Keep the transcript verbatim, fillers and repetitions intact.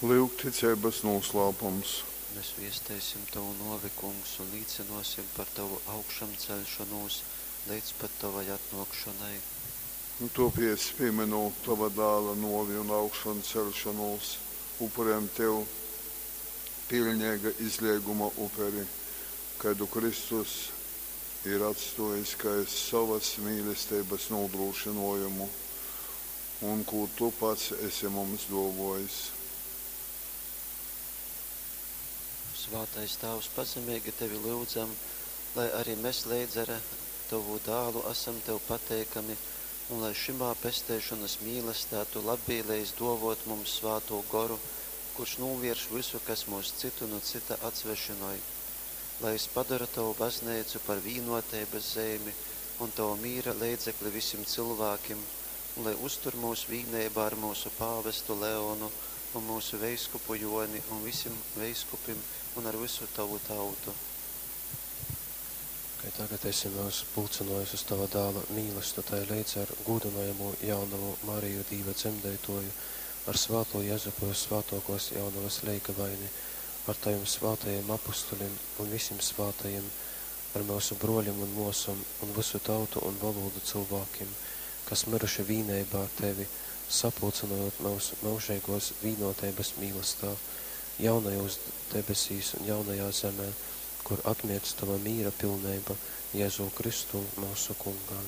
Lyuk ticeibas nūslāpums. Mes viesteisim tovu nōvi, Kungs, un līcynōsim par tovu augšamceļšonūs leidz pat tovai atnōkšonai. Tōpēc, pīmynūt tova Dāla nōvi un augšonceļšonūs, upurejam tev piļneiga izleiguma uperi, kaidu Kristus ir atstōjis kai sovas mīlesteibas nūdrūšynōjumu un kū tu pats esi mums dōvōjis. Svātais Tāvs, pazemeigi tevi lyudzam, lai ari mes leidz ar tovu Dālu asam tev pateikami un lai šymā pesteišonas mīlastā tu labvēlejis dōvōt mums Svātū Goru, kurš nūvierš vysu, kas myus cytu nu cyta atsvešynoj. Lai jys padora tovu bazneicu par vīnōteibas zeimi un tova mīra leidzekli visim cylvākim, un lai uztur myus vīneibā ar myusu pāvestu Leonu un myusu veiskupu Jōni un visim veiskupim un ar vysu tovu tautu. Kai tagad esi myus pulcynōjis uz tova Dāla mīlastu, tai leidz ar gūdynojamū jaunovu Mariju Dīva dzemdeitōju, ar svātū Jezupu vyssvātōkōs jaunovas leigavaini, ar tovim svātajim apustulim un visim svātajim, ar myusu brōlim un mōsom un vysu tautu un volūdu cylvākim, kas myruši vīneibā ar tevi, sapulcynojūt myus myužeigōs vīnōteibas mīlastā, jaunajōs debesīs un jaunajā zemē, kur atmirdz tova mīra pilneiba, Jezū Kristū, myusu Kungā.